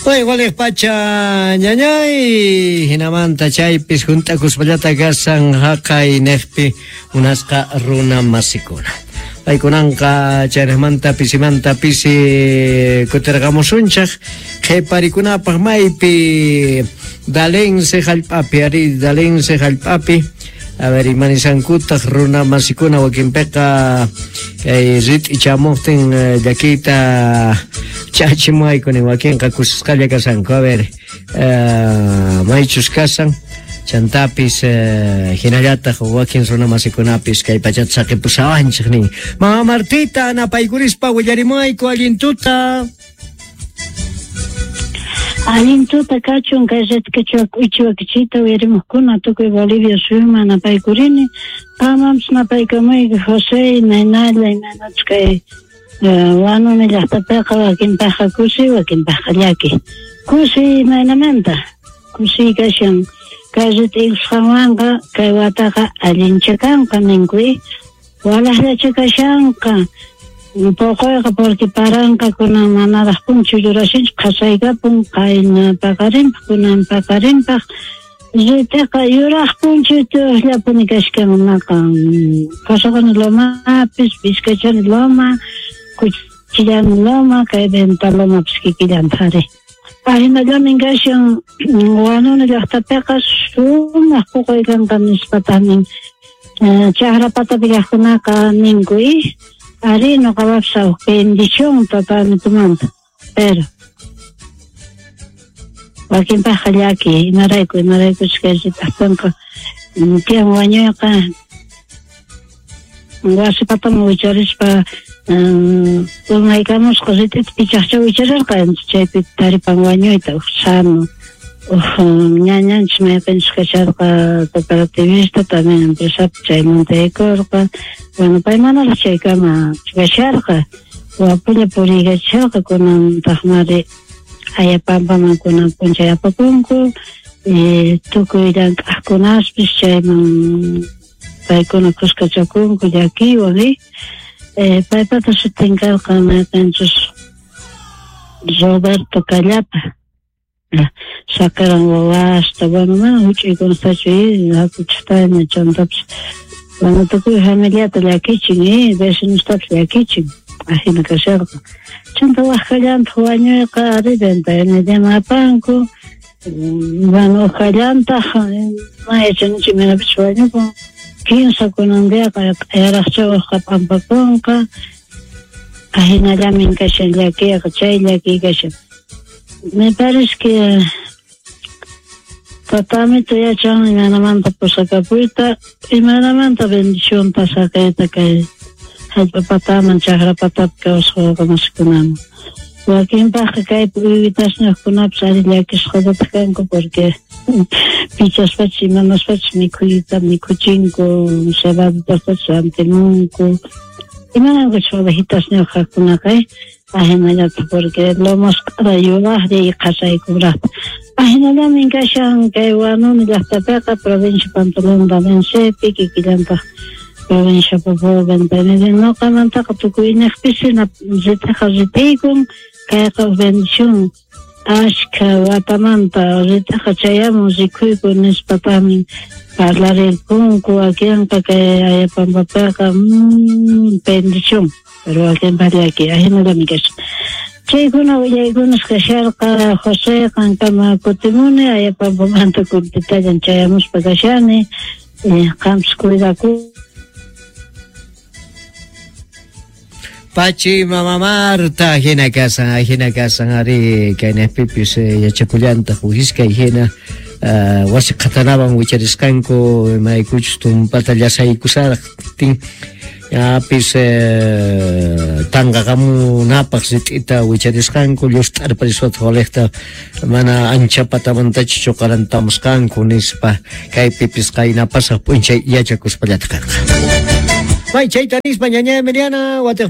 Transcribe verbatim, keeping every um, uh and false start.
Way waliq pacha ñañay hinamanta chaypis hunt'akuspallata kasan haqay neqpi munasqa runa masikuna. Paykunanqa chaynamanta pisimanta pisi kutirqamusunchaq qhiparikunapaq maypi Dalense hallp'api ari Dalense hallp'api. A ver, imanisankutaq runa masikuna wakinpiqa kay rit'i chamuqtin llakiyta chachimuayku wakinqa kusisqalla kasanku. A ver, uh, maychus kasan chantapis uh, hinallataq wakin runa masikunapis kay pachata saqipusawanchik nin. Mama Martita napaykurispa willarimuayku allin tuta. Allin tuta kachun kay rit'ichwa k'uichiwakichita uyarimuqkuna tukuy Bolivia suyuman napaykurini. Qamampis napaykamuyki José imaynalla imaynachus kay Wanuni llaqtapiqa wakinpaqqa kusi wakinpaqqa llaki. Kusi imaynamanta kusi kashan kay rit'ikusqanwanqa kay wataqa allincha kanqa ninku walaqllacha kashanqa. Poqoyqa porque paranqa kunan manaraq punchu yurashinchu qhasaykapun qayna paqarinpaq kunan paqarinpaq rit'iqa yuraq punchu tuqllapuni kashkan naqa Qasaqani lomapis Vizcachani loma Cuchillani loma kay Venta lomapis kikillantaq ari. Ahinallamin kashan Wanuni llaqtapiqa sumaq poqoy kanqa nispataq nin chaqra patapi kaqkunaqa ninku ari noqapapis huk bendición tatamitumanta pero wakinpaqqa llaki imarayku imaraykuchus kay rit'aqtinqa tiyan wañuyqa wasi pataman wicharispa urmaykamusqa rit'ita pichaqcha wicharirqa chaypi taripan wañuyta huk sano huk ñañanchis mayqinchis kasharqa cooperativista también empresapi chaymanta yaykurqa. Bueno, pay manaraq chaykama kasharqa wapulla puriykachisharqa kunantaqmari Ayapampaman kunan p'unchay apapunku tukuy llank'aqkunaspis chayman paykuna kuskachakunku llakiywan paypata sutin karqa mayqinchus Roberto Callapa sacaran wawasta bueno mana huch'uykunatachu hakuchaqtayna chantapis bueno tukuy familiata llakichin vecinostapis llakichin ajina kasharqa chanta waqkallantaq wañuyqa ari ventanallaman apanku bueno uqallantaq mana yachanichu imaynapis wañupun kinsa kunan diaqa q'ayaraqcha uqqa p'ampakunqa ajinallamin kashan llakiyqa chay llakiy kashan. Me parece que tatamito yachan imaynamanta pusakapuyta imaynamanta bendición pasakayta kay hallp'a pataman chaqra patapi kawsaq wawqamasikunaman. Wakinpaqqa kaypi uywitasniyuqkunapis ari llakisqallataq kanku porque pichaspachis imanaspachis mikhuyta mikhuchinku cebaditaspachis rantimunku imanankuchus ovejitasniyuq kaqkunaqa ajinallataq porque lomasq'ara yuraqlla y qhasaykuraqta. Ajinallamin kashan kay Wanuni llaqtapiqa provincia Pantaleón Dalensepi kikillantaq provincia Poopó Ventanillapi noqamantaqa tukuyniqpis rit'iqa rit'iykun kayqa bendición ashkha watamanta rit'iqa chayamun rikuyku nispataqmi parlarirkunku wakinqa kay Ayapampapiqa bendición pero wakinpaq llaki ajinallami kashan. Chaykuna willaykunas kasharqa José qankama kutimuni Ayapampamanta kuntitallan chayamuspa kashani qampis cuidaku. Pachi mama Marta hina kasan hina kasan ari kaynaqpipis yachakullantaq uhiskay hina wasi qhatanawan wicharisqanku imaykuchus tumpata llasaykusaraqtin yapis tanqaqamunapaq rit'ita wicharisqanku llust'arpariswataq waliqta mana ancha patamantachu chuqarantamusqanku nispa kaypipis qayna pasaq p'unchay yachakuspallataq karqa. May chayta nispa ñaña Emiliana watiq